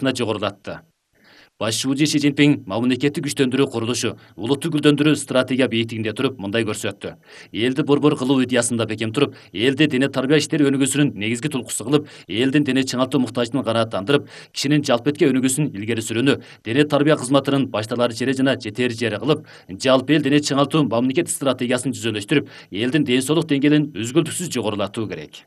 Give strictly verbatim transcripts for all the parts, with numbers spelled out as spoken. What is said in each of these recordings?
жогорулатты. Башчыбыжы Си Цзиньпин мамлекетти күчтөндүрүү курулушу, улутту гүлдөндүрүү стратегия бейитигинде туруп мындай көрсөттү. Элди борбор кылуу идеясында бекем туруп, элди дене тарбия иштери өнүгүүсүнүн негизги тулкусу кылып, элдин дене чыңалтуу муктажын канааттандырып, кишинин жалпы этке өнүгүүсүн илгери сүрүүнү, дене тарбия кызматынын башталар жери жана жетери жери кылып, жалпы эл дене чыңалтуу мамлекет стратегиясын жүзөлөштүрүп, элдин ден соолук деңгээлин үзгүлтүксүз жогорулатуу керек.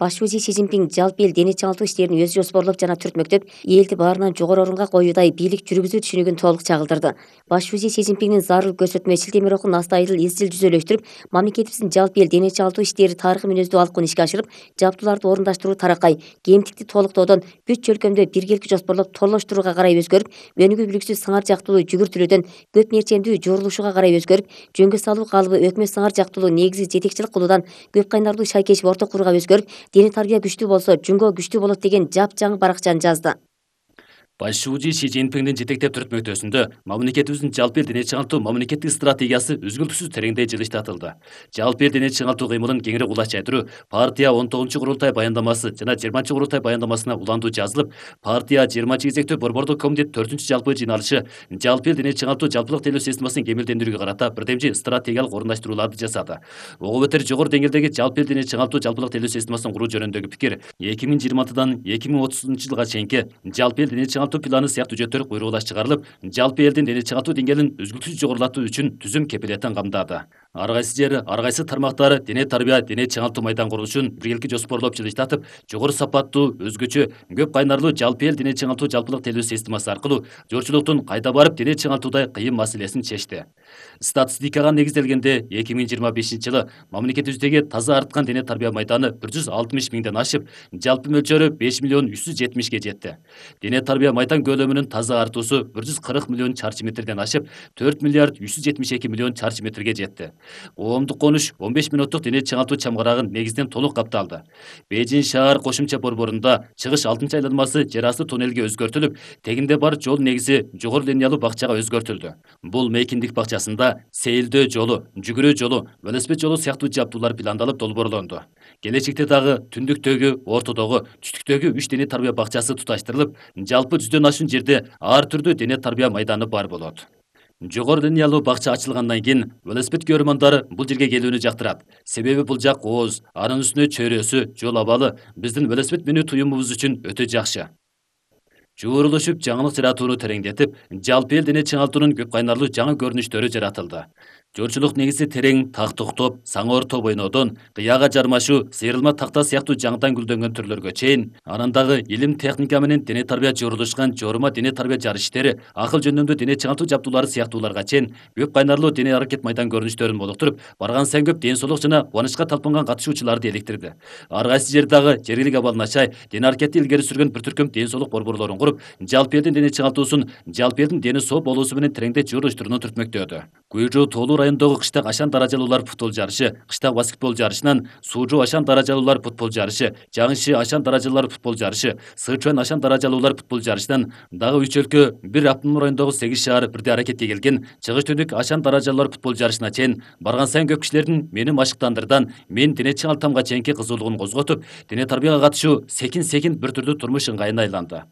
Башчыбыжы Си Цзиньпин жалпы эл дене чыңалтуу иштерин өзү жоспорлоп жана түртмөктөп, элди баарынан жогору орунга коюудай бийлик жүргүзүү түшүнүгүн толук чагылдырды. Башчыбыжы Си Цзиньпиндин зарыл көрсөтмө шилтеме рухун астайыл изчил жүзөлөштүрүп, мамлекетибиздин жалпы эл дене чыңалтуу иштери тарыхый мүнөздүү алкуун ишке ашырып, жабдууларды орундаштыруу таракай, кемтикти толуктоодон бүт чөлкөмдө биргеликти жоспорлоп толуштурууга карай өзгөрүп, өнүгүү бүлүксүз сыңар жактуулуу жүгүртүлүүдөн көп нерчемдүү жорулушууга карай өзгөрүп, жөнгө салуу калыбы өкмөт сыңар жактуулуу негизги жетекчилик кылуудан көп кайнарлуу шайкешип орто курууга өзгөрүп, дене тарбия күчтүү болсо жүнгө күчтүү болот деген жапжаңы баракчаны жазды. Башчыбыжы Си Цзиньпиндин жетектеп түртмөктөсүндө мамлекетибиздин жалпы эл дене чыңалтуу мамлекеттик стратегиясы үзгүлтүксүз тереңдей жылыштатылды. Жалпы эл дене чыңалтуу кыймылын кеңири кулачайтыруу партия он тогузунчу курултай баяндамасы жана жыйырманчы курултай баяндамасына улантуу жазылып, партия жыйырма кезектүү борбордук комитет төртүнчү жалпы жыйналышы жалпы эл дене чыңалтуу жалпылык тейлөө системасын кемелдендирүүгө карата бирдемчи стратегиялык орундаштырууларды жасады. Ого бетер жогору деңгээлдеги жалпы эл дене чыңалтуу жалпылык тейлөө системасын куруу жөнүндөгү пикир эки миң жыйырма алтыдан эки миң отузунчу жылга чейинки жалпы эл дене чыңалтуу планы сыяктуу жүзөттөр куйругулаш чыгарылып, жалпы элдин дене чыңалтуу деңгээлин үзгүлтүксүз жогорулатуу үчүн түзүм кепилетин камдады. Ар кайсы жери, ар кайсы тармактары дене тарбия, дене чыңалтуу майдан курулушун биргеликти жоспорлоп жылыштатып, жогору сапаттуу, өзгөчө, көп кайнарлуу жалпы эл дене чыңалтуу жалпылык тейлөө системасы аркылуу журчулуктун кайда барып дене чыңалтуудай кыйын маселесин чечти. Статистикага негизделгенде эки миң жыйырма бешинчи жылы мамлекетибиздеги таза арткан дене тарбия майданы бир жүз алтымыш миңден ашып, жалпы мөлчөрү беш миллион үч жүз жетимишке жетти. Дене тарбия майдан көлөмүнүн таза артуусу бир жүз кырк миллион чарчы метрден ашып, төрт миллиард үч жүз жетимиш эки миллион чарчы метрге жетти. Коомдук конуш он беш мүнөттүк дене чыңалтуу чамгарагын негизден толук капталды. Бейжин шаар кошумча борборунда чыгыш алтынчы айланмасы жер асты туннелге өзгөртүлүп, тегинде бар жол негизи жогору линиялуу бакчага өзгөртүлдү. Бул мейкиндик бакчасында сейилдөө жолу, жүгүрүү жолу, велосипед жолу сыяктуу жабдуулар пландалып долбоорлонду. Келечекте дагы түндүктөгү, ортодогу, түштүктөгү үч дене тарбия бакчасы туташтырылып, жалпы жүздөн ашуун жерде ар түрдүү дене тарбия майданы бар болот. Жогору линиялуу бакча ачылгандан кийин велосипед көрөрмандары бул жерге келүүнү жактырат. Себеби бул жак ооз, анын үстүнө чөйрөсү, жол абалы биздин велосипед минүү туюмубуз үчүн өтө жакшы. Жуурулушуп жаңылык жаратууну тереңдетип, жалпы эл дене чыңалтуунун көп кайнарлуу жаңы көрүнүштөрү жаратылды. Жорчулук негизи терең, так токтоп, саңы орто бойнодон, кыяга жармашуу, сыйрылма такта сыяктуу жаңыдан гүлдөнгөн түрлөргө чейин, анан дагы илим техника менен дене тарбия жорулушкан жорума дене тарбия жарыш иштери, акыл жөнүндө дене чыңалтуу жабдуулары сыяктууларга чейин көп кайнарлуу дене аракет майдан көрүнүштөрүн молуктуруп, барган сайын көп ден соолук жана кубанычка талпынган катышуучуларды электирди. Ар кайсы жер дагы жергилик абал начай, дене аракетти илгери сүргөн бир түркүм ден соолук борборлорун куруп, жалпы элдин дене чыңалтуусун, жалпы элдин дени соо болуусу менен тереңдей журуштурууну түртмөктөдү. Куйжу тоолуу райондогу кыштак ашан даражалуулар футбол жарышы, кыштак баскетбол жарышынан Суужу ашан даражалуулар футбол жарышы, Жаңыши ашан даражалуулар футбол жарышы, Сычуан ашан даражалуулар футбол жарышынан дагы үч өлкө, бир автономдуу райондогу сегиз шаар бирдей аракетке келген чыгыш түндүк ашан даражалуулар футбол жарышына чейин барган сайын көп кишилердин мени машыктандырдан, мен дене чыңалтамга чейинки кызуулугун козготуп, дене тарбияга катышуу секин-секин бир түрдүү турмуш ыңгайына айланды.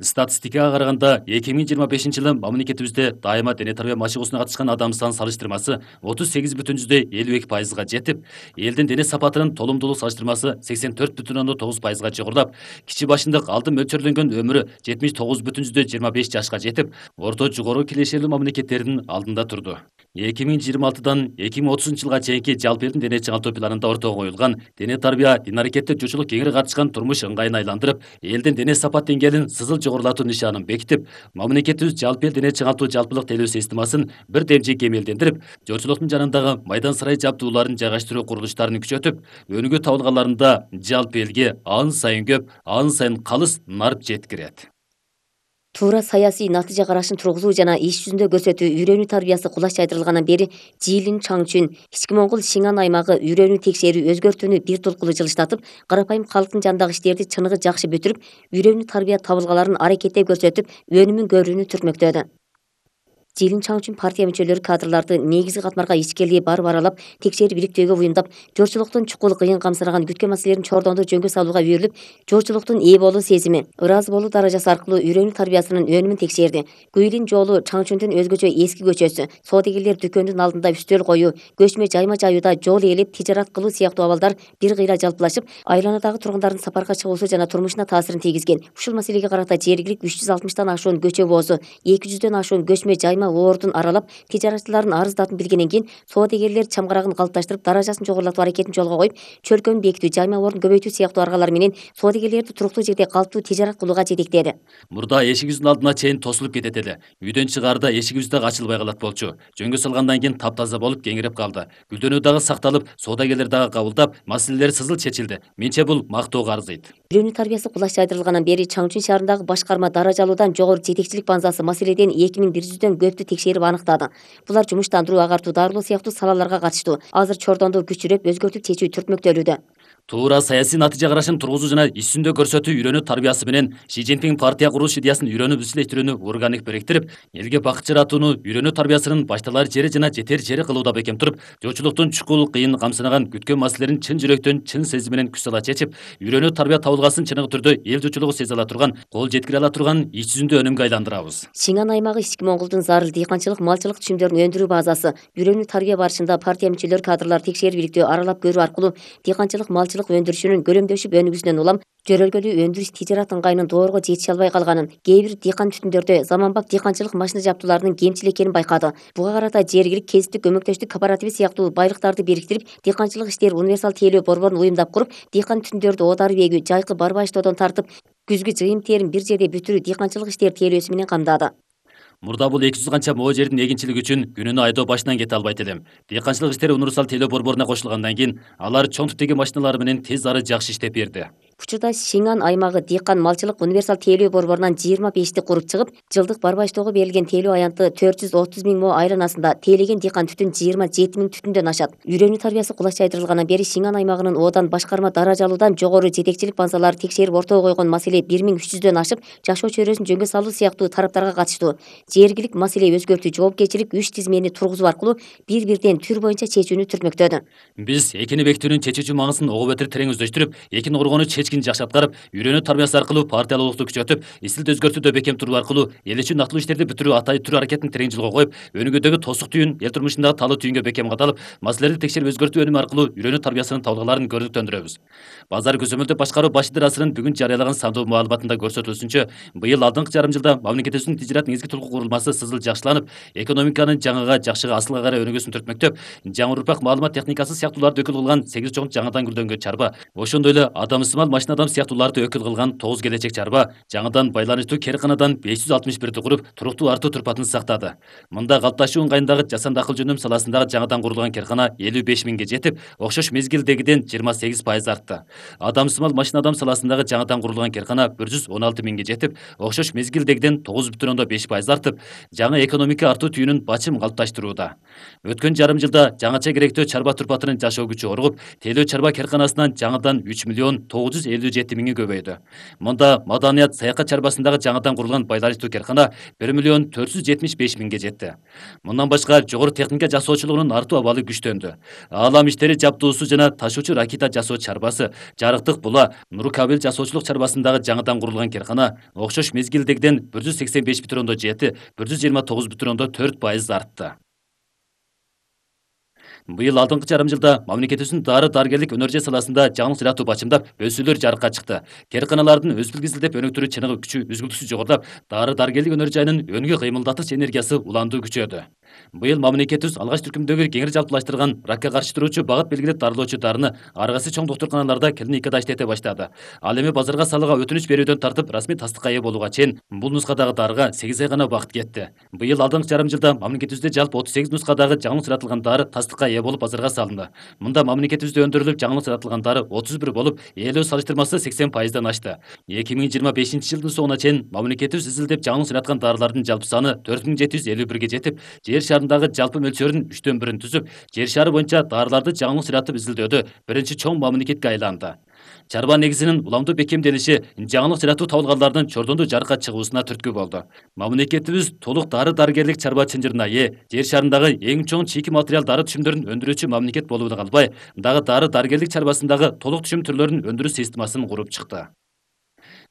Статистикага караганда эки миң жыйырма бешинчи жылы мамлекетибизде дайыма дене тарбия машыгуусуна катышкан адам саны салыштырмасы отуз сегиз бүтүн жүздөй элүү эки пайызга жетип, элдин дене сапатынын толумдуулук салыштырмасы сексен төрт бүтүн ондон тогуз пайызга жогорулап, кичи башындык алдын мөлчөрлөнгөн өмүрү жетимиш тогуз бүтүн жүздөй жыйырма беш жашка жетип, орто жогору кирешелүү мамлекеттердин алдында турду. эки миң жыйырма алтыдан эки миң отузунчу жылга чейинки жалпы элдин дене чыңалтуу планында ортого коюлган дене тарбия, дене аракетте жуучулук кеңири катышкан турмуш ыңгайын айландырып, элдин дене сапат деңгээлин сызыл жогорулатуу нишанын бекитип, мамлекетибиз жалпы эл дене чыңалтуу жалпылык тейлөө системасын бир демчи кемелдендирип, жорчулуктун жанындагы майдан сарай жабдууларын жайгаштыруу курулуштарын күчөтүп, өнүгүү табылганларында жалпы элге ан сайын көп, ан сайын калыс нарп жеткирет. Туура саясий натыйжа карашын тургузуу жана иш жүзүндө көрсөтүү үйрөнүү тарбиясы кулаш жайдырылгандан бери Жиилин, Чаңчүн, Ички Моңгол, Сиңан аймагы үйрөнүү текшерүү өзгөртүүнү бир толкулуу жылыштатып, карапайым калктын жанындагы иштерди чыныгы жакшы бүтүрүп, үйрөнүү тарбия табылгаларын аракеттеп көрсөтүп, өнүмүн көрүүнү түртмөктөдү. Желин чаң үчүн партия мүчөлөрү кадрларды негизги катмарга ичкерилии барып аралап, текшерип иликтөөгө буюмдап, жорчулуктун чукул кыйын камсыраган күткөн маселелерин чордондо жөнгө салууга үйрүлүп, жорчулуктун ээ болуу сезими, ыраазы болуу даражасы аркылуу үйрөнүү тарбиясынын өнүмүн текшерди. Гүйлин жолу Чаңчүндүн өзгөчө эски көчөсү, соодагерлер дүкөндүн алдында үстөл коюу, көчмө жайма жаюуда жол ээлеп тижарат кылуу сыяктуу абалдар бир кыйла жалпылашып, айланадагы тургундардын сапарга чыгуусу жана турмушуна таасирин тийгизген. Ушул маселеге карата жергилик үч жүз алтымыштан ашуун көчө боозу, эки жүздөн ашуун көчмө жайма оордун аралап, тижаратчылардын арыздарын билгенден кийин соодагерлер чамгарагын калыпташтырып, даражасын жогорулатуу аракетин жолго коюп, чөлкөмүн бекитүү, жайма оордун көбөйтүү сыяктуу аргалар менен соодагерлерди туруктуу жерде калыптуу тижарат кылууга жетектеди. Мурда эшигибиздин алдына чейин тосулуп кетет эле. Үйдөн чыгаарда эшигибиз дагы ачылбай калат болчу. Жөнгө салгандан кийин таптаза болуп кеңиреп калды. Гүлдөнүү дагы сакталып, соодагерлер дагы кабылдап, маселелер сызыл чечилди. Менче бул мактоого арзыйт. Үйрөнүү тарбиясы кулаш жайдырылгандан бери Чаңчүн шаарындагы башкарма даражалуудан жогору жетекчилик базасы маселеден эки миң бир жүздөн көптү текшерип аныктады. Булар жумуштандыруу, агартуу, дарылоо сыяктуу салаларга катыштуу. Азыр чордондо күчүрөп, өзгөртүп чечүү түртмөктөлүүдө. Туура саясий натыйжа карашын тургузуу жана иш жүзүндө көрсөтүү үйрөнүү тарбиясы менен Си Цзиньпин партия курулуш идеясын үйрөнүп изилештирүүнү органик бириктирип, элге бакыт жаратууну үйрөнүү тарбиясынын башталар жери жана жетер жери кылууда бекем туруп, жочулуктун чукул кыйын камсынаган күткөн маселелерин чын жүрөктөн, чын сезим менен күч сала чечип, үйрөнүү тарбия табылгасын чыныгы түрдө эл жочулугу сезе ала турган, кол жеткире ала турган иш жүзүндө өнүмгө айландырабыз. Сиңан аймагы ички Монголдун зарыл дыйканчылык, малчылык түшүмдөрүн өндүрүү базасы. Үйрөнүү тарбия барышында партия мүчөлөрү кадрлар текшерип иликтөө, аралап көрүү аркылуу дыйканчылык, малчылык өндүрүшүнүн көлөмдөшүп өнүгүүсүнөн улам жөрөлгөлүү өндүрүш тижарат ыңгайынын доорго жетише албай калганын, кээ бир дыйкан түтүндөрдө заманбап дыйканчылык машина жабдууларынын кемчил экенин байкады. Буга карата жергилик кесиптик көмөктөштүк кооперативи сыяктуу байлыктарды бириктирип, дыйканчылык иштери универсал тейлөө борборун уюмдап куруп, дыйкан түтүндөрдү оодарып эгүү, жайкы барбаштоодон тартып, күзгү жыйым терим бир жерде бүтүрүү дыйканчылык иштери тейлөөсү менен камдады. Мурда бул эки жүз канча moo жердин эгинчилиги үчүн күнүнө айдоо башынан кете албайт элем. Дыйканчылык иштери универсал тейлөө борборуна кошулгандан кийин алар чоң типтеги машиналары менен тез ары жакшы иштеп берди. Учурда Сиңан аймагы дыйкан малчылык универсал тейлөө борборунан жыйырма бешти куруп чыгып, жылдык барбаштоого берилген тейлөө аянты төрт жүз отуз миң moo айланасында тейлеген дыйкан түтүн жыйырма жети миң түтүндөн ашат. Үйрөнүү тарбиясы кулаш жайдырылгандан бери Сиңан аймагынын оодан башкарма даражалуудан жогору жетекчилик базалары текшерип ортого койгон маселе бир миң үч жүздөн ашып, жашоо чөйрөсүн жөнгө салуу сыяктуу тараптарга катыштуу. Жергилик маселе өзгөртүү, жоопкерчилик үч тизмени тургузуу аркылуу бир-бирден түр боюнча чечүүнү түртмөктөдү. Биз экини бекитүүнүн чечүүчү маңызын ого бетер терең өздөштүрүп, экин оргонуу чечкин жакшы аткарып, үйрөнүү тарбиясы аркылуу партиялуулукту күчөтүп, исилди өзгөртүүдө бекем туруу аркылуу эл үчүн нактылуу иштерди бүтүрүү атай түрүү аракетин терең жолго коюп, өнүгүүдөгү тосук түйүн, эл турмушундагы талуу түйүнгө бекем кадалып, маселелерди текшерип өзгөртүү өнүмү аркылуу үйрөнүү тарбиясынын табылгаларын көрдүктөндүрөбүз. Базар көзөмөлдөө башкаруу баш идарасынын бүгүн жарыялаган сандуу маалыматында көрсөтүлүшүнчө, быйыл алдыңкы жарым жылда мамлекетибиздин тижарат негизги толку курулмасы сызыл жакшыланып, экономиканын жаңыга, жакшыга, асылга карай өнүгүүсүн түртмөктөп, жаңы урпак маалымат техникасы сыяктууларды өкүл кылган сегиз чоң жаңыдан гүлдөнгөн чарба, ошондой эле адам ысымал машина адам сыяктууларды өкүл кылган тогуз келечек чарба, жаңыдан байланыштуу керканадан беш жүз алтымыш бирди куруп, туруктуу артуу турпатын сактады. Мында калыпташуу ыңгайындагы жасанды акыл жөнөм саласындагы жаңыдан курулган керкана элүү беш миңге жетип, окшош мезгилдегиден жыйырма сегиз пайыз артты. Адам ысымал машина адам саласындагы жаңыдан курулган керкана бир жүз он алты миңге жетип, окшош мезгилдегиден тогуз бүтүн ондон беш пайыз артып, жаңы экономика артуу түйүнүн бачым калыпташтырууда. Өткөн жарым жылда жаңыча керектөө чарба турпатынын жашоо күчү оргуп, тейлөө чарба керканасынан жаңыдан үч миллион тогуз жүз элүү жети миңи көбөйдү. Мында маданият саякат чарбасындагы жаңыдан курулган байланыштуу керкана бир миллион төрт жүз жетимиш беш миңге жетти. Мындан башка жогору техника жасоочулугунун артуу абалы күчтөндү. Аалам иштери жабдуусу жана ташуучу ракета жасоо чарбасы, жарыктык була, нур кабел жасоочулук чарбасындагы жаңыдан курулган керкана окшош мезгилдегиден бир жүз сексен беш бүтүн ондон жети, бир жүз жыйырма тогуз бүтүн ондон төрт пайыз артты. Быйыл алдыңкы жарым жылда мамлекетибиздин дары дарыгерлик өнөр саласында жаңылык жаратуу бачымдап, өсүүлөр жарыкка чыкты. Керканалардын өз билгисиздеп өнүктүрүү чыныгы күчү үзгүлтүксүз жогорулап, дары дарыгерлик өнөр жайынын өнгө кыймылдатыш энергиясы уландуу күчөдү. Быйыл мамлекетибиз алгач түркүмдөгү кеңири жалпылаштырган ракка каршы туруучу багат белгилеп дарылоочу дарыны ар кайсы чоң доктурканаларда клиникада иштете баштады. Ал эми базарга салууга өтүнүч берүүдөн тартып, расмий тастыкка ээ болууга чейин бул нускадагы дарыга сегиз ай гана убакыт кетти. Быйыл алдыңкы жарым жылда мамлекетибизде жалпы отуз сегиз нускадагы жаңылык жаратылган дары тастыкка ээ болуп базарга салынды. Мында мамлекетибизде өндүрүлүп жаңылык жаратылган дары отуз бир болуп, ээлөө салыштырмасы сексен пайыздан ашты. эки миң жыйырма бешинчи жылдын соңуна чейин мамлекетибиз изилдеп жаңылык жараткан дарылардын жалпы саны төрт миң жети жүз элүү бирге жетип, жер шарындагы жалпы мөлчөрүнүн үчтөн бирин түзүп, жер шары боюнча дарыларды жаңылык жаратып изилдөөдө биринчи чоң мамлекетке айланды. Чарба негизинин уламдуу бекемделиши жаңылык жаратуу табылганлардын чордондуу жарыкка чыгуусуна түрткү болду. Мамлекетибиз толук дары дарыгерлик чарба чынжырына ээ, жер шарындагы эң чоң чийки материал дары түшүмдөрүн өндүрүүчү мамлекет болууну калбай, дагы дары дарыгерлик чарбасындагы толук түшүм түрлөрүнүн өндүрүү системасын куруп чыкты.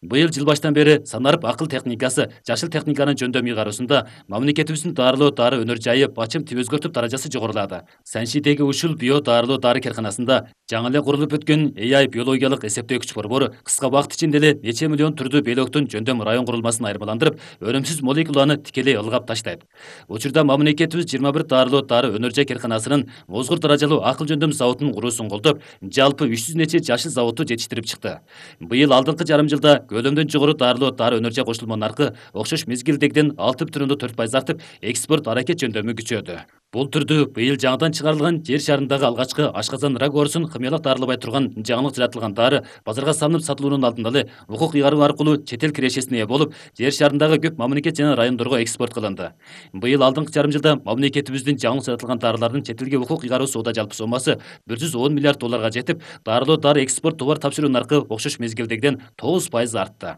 Быйыл жыл баштан бери санарып акыл техникасы, жашыл техниканын жөндөм ыйгаруусунда мамлекетибиздин дарылоо дары өнөр жайы бачым тип өзгөртүп даражасы жогорулады. Саншидеги ушул био дарылоо дары карканасында жаңы эле курулуп өткөн A I биологиялык эсептөөкүч борбору кыска убакыт ичинде эле нече миллион түрдүү белөктүн жөндөм район курулмасын айырмаландырып, өнөмсүз молекуланы тикелей ылгап таштайт. Учурда мамлекетибиз жыйырма бир дарылоо дары өнөр жай карканасынын озгур даражалуу акыл жөндөм заводунун куруусун колдоп, жалпы үч жүз нече жашыл заводду жетиштирип чыкты. Быйыл алдыңкы жарым жылда көлөмдөн жогору дарылоо дары өнөр жай кошулма наркы окшош мезгилдегиден алты бүтүн ондон төрт пайыз артып, экспорт аракет жөндөмү күчөдү. Бул түрдүү быйыл жаңыдан чыгарылган жер шарындагы алгачкы ашказан рак оорусун хымыялык дарылабай турган жаңылык жаратылган дары базарга салынып сатылуунун алдында эле укук ыйгаруу аркылуу чет эл кирешесине ээ болуп, жер шарындагы көп мамлекет жана райондорго экспорт кылынды. Быйыл алдыңкы жарым жылда мамлекетибиздин жаңылык жаратылган дарылардын чет элге укук ыйгаруу соода жалпы сомасы бир жүз он миллиард долларга жетип, дарылоо дары экспорт товар тапшыруу наркы окшош мезгилдегиден тогуз пайыз артты.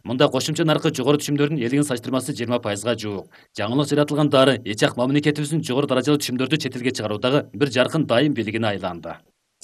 Мында кошумча наркы жогору түшүмдөрдүн элдин салыштырмасы жыйырма пайызга жуук. Жаңылык жаратылган дары эч ак мамлекетибиздин жогору даражалуу түшүмдөрдү чет элге чыгаруудагы бир жаркын дайым бийлигине айланды.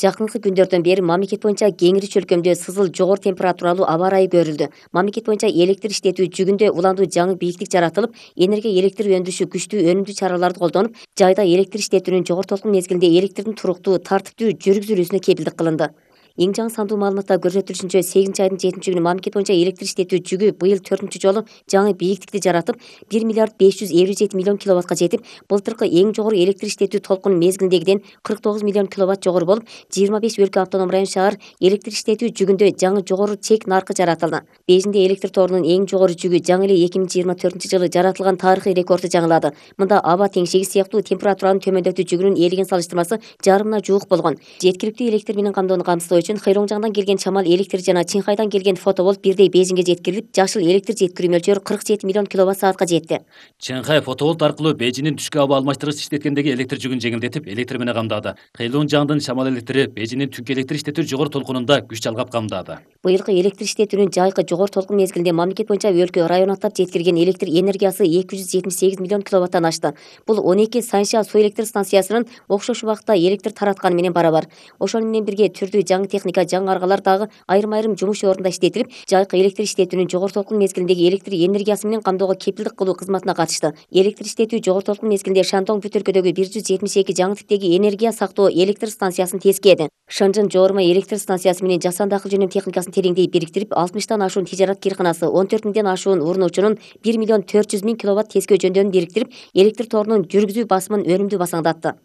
Жакынкы күндөрдөн бери мамлекет боюнча кеңири чөлкөмдө сызыл жогору температуралуу аба ырайы көрүлдү. Мамлекет боюнча электр иштетүү жүгүндө уландуу жаңы бийиктик жаратылып, энергия электр өндүрүшү күчтүү өнүмдүү чараларды колдонуп, жайда электр иштетүүнүн жогору толкун мезгилинде электрдин туруктуу, тартиптүү жүргүзүлүүсүнө кепилдик кылынды. Эң жаңы сандуу маалыматта көрсөтүлүшүнчө сегизинчи айдын жетинчи күнү мамлекет боюнча электр иштетүү жүгү быйыл төртүнчү жолу жаңы бийиктикти жаратып, бир миллиард беш жүз элүү жети миллион киловаттка жетип, былтыркы эң жогору электр иштетүү толкуну мезгилиндегиден кырк тогуз миллион киловатт жогору болуп, жыйырма беш өлкө автоном район шаар электр иштетүү жүгүндө жаңы жогору чек наркы жаратылды. Бейжиңде электр торунун эң жогору жүгү жаңы эле эки миң жыйырма төртүнчү жылы жаратылган тарыхый рекордду жаңылады. Мында аба теңшеги сыяктуу температуранын төмөндөтүү жүгүнүн ээлеген салыштырмасы жарымына жуук болгон. Жеткиликтүү электр менен камдоону камсыздоо үчүн Хэйлоң жагынан келген чамал электр жана Чинхайдан келген фотоволт бирдей Бейжиңге жеткирилип, жашыл электр жеткирүү мөлчөрү кырк жети миллион киловатт саатка жетти. Чинхай фотоволт аркылуу Бейжиңдин түшкү аба алмаштыргыч иштеткендеги электр жүгүн жеңилдетип, электр менен камдады. Хэйлоң жагынан шамал электри Бейжиңдин түнкү электр иштетүү жогору толкунунда күч жалгап камдады. Быйылкы электр иштетүүнүн жайкы жогору толкун мезгилинде мамлекет боюнча өлкө район аттап жеткирген электр энергиясы эки жүз жетимиш сегиз миллион киловаттан ашты. Бул он эки Санша суу электр станциясынын окшош убакытта электр таратканы менен барабар. Ошол менен бирге түрдүү жаңы техника, жаңы аргалар дагы айрым-айрым жумуш ордунда иштетилип, жайкы электр иштетүүнүн жогору толкун мезгилиндеги электр энергиясы менен камдоого кепилдик кылуу кызматына катышты. Электр иштетүү жогору толкун мезгилинде Шантоң бүт өлкөдөгү бир жүз жетимиш эки жаңы типтеги энергия сактоо электр станциясын тескеди. Шэнжэн жоорма электр станциясы менен жасанды акыл жөнөм техникасын тереңдей бириктирип, алтымыштан ашуун тижарат кыйрканасы, он төрт миңден ашуун урунуучунун бир миллион төрт жүз миң киловатт тескөө жөндөмүн бириктирип, электр торунун жүргүзүү басымын өнүмдүү басаңдатты.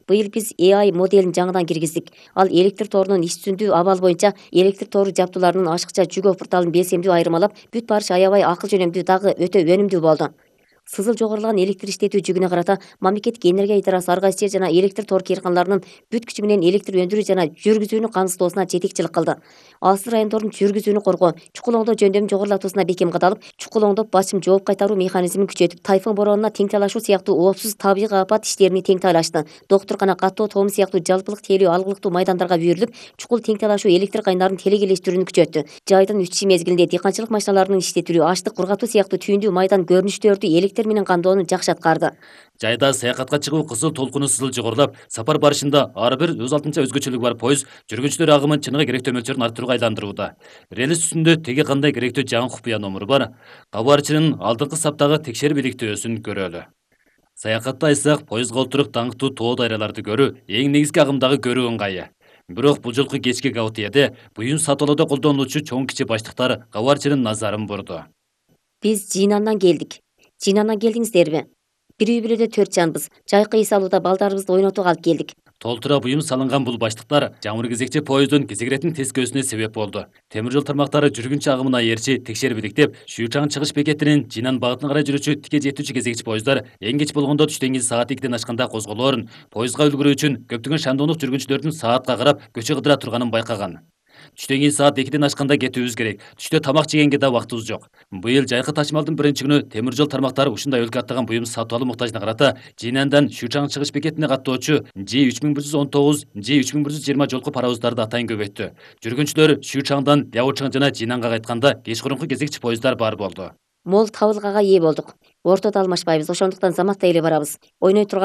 Быйыл биз A I моделин жаңыдан киргиздик. Ал электр торунун ич түздүү абалы боюнча электр тору жабдууларынын ашыкча жүк опурталын белсемдүү айырмалап, бүт барыш аябай акыл жөнөмдүү дагы өтө өнүмдүү болду. Сызыл жогорулган электр иштетүү жүгүнө карата мамлекеттик энергия идарасы ар кайсы жер жана электр тор кыйрканаларынын бүт күчү менен электр өндүрүү жана жүргүзүүнү камсыздоосуна жетекчилик кылды. Алыс райондордун жүргүзүүнү коргоо, чукул оңдоо жөндөмүн жогорулатуусуна бекем кадалып, чукул оңдоп бачым жооп кайтаруу механизмин күчөтүп, тайфун боронуна тең талашуу сыяктуу оопсуз табигый апат иштерини тең тайлашты. Доктуркана, каттоо, тоом сыяктуу жалпылык тейлүү алгылыктуу майдандарга үйрүлүп, чукул тең талашуу электр кайнарын телекелештирүүнү күчөттү. Жайдын үч мезгилинде дыйканчылык машиналарынын иштетилүү, аштык, кургатуу сыяктуу түйүндүү майдан көрүнүштөрдү электр менен камдоону жакшы аткарды. Жайда саякатка чыгуу кызыл толкуну сызыл жогорулап, сапар барышында ар бир өз алдынча өзгөчөлүгү бар поезд жүргүнчүлөр агымын чыныгы керектөө мөлчөрүн арттырууга айландырууда. Релис үстүндө теге кандай керектөө жаңы купуя номуру бар. Кабарчынын алдыңкы саптагы текшерип иликтөөсүн көрөлү. Саякатта айсак, поездго олтуруп даңктуу тоо дайраларды көрүү эң негизги агымдагы көрүү ыңгайы. Бирок бул жолку кечки Гаутияде буюм сатуулоодо колдонулуучу чоң кичи баштыктар кабарчынын назарын бурду. Биз Жинандан келдик. Жинандан келдиңиздерби? Бир үй бүлөдө төрт жанбыз. Жайкы үй салууда балдарыбызды ойнотууга алып келдик. Толтура буюм салынган бул баштыктар жамыр кезекчи поезддун кезегиреттин тескөөсүнө себеп болду. Темир жол тармактары жүргүнчү агымына ээрчи текшерип иликтеп, Шүйчаң чыгыш бекетинин Жинан багытына карай жүрүүчү тике жетүүчү кезекчи поезддар эң кеч болгондо түштөн кийин саат экиден ашканда козголоорун, поездга үлгүрүү үчүн көптөгөн шандоонук жүргүнчүлөрдүн саатка карап көчө кыдыра турганын байкаган. Түштөн кийин саат экиден ашканда кетүүбүз керек. Түштө тамак жегенге да убактыбыз жок. Быйыл жайкы ташмалдын биринчи күнү темир жол тармактары ушундай өлкө аттаган буюм сатып алуу муктажына карата Жинандан Шучаң чыгыш бекетине каттоочу Ж үч миң бир жүз он тогуз, Ж үч миң бир жүз жыйырма жолку паровоздарды атайын көбөйттү. Жүргүнчүлөр Шучаңдан Ляочаң жана Жинанга кайтканда кечкурунку кезекчи поезддар бар болду. Мол табылгага ээ болдук. Ортодо алмашпайбыз, ошондуктан заматтай эле барабыз. Ойной турган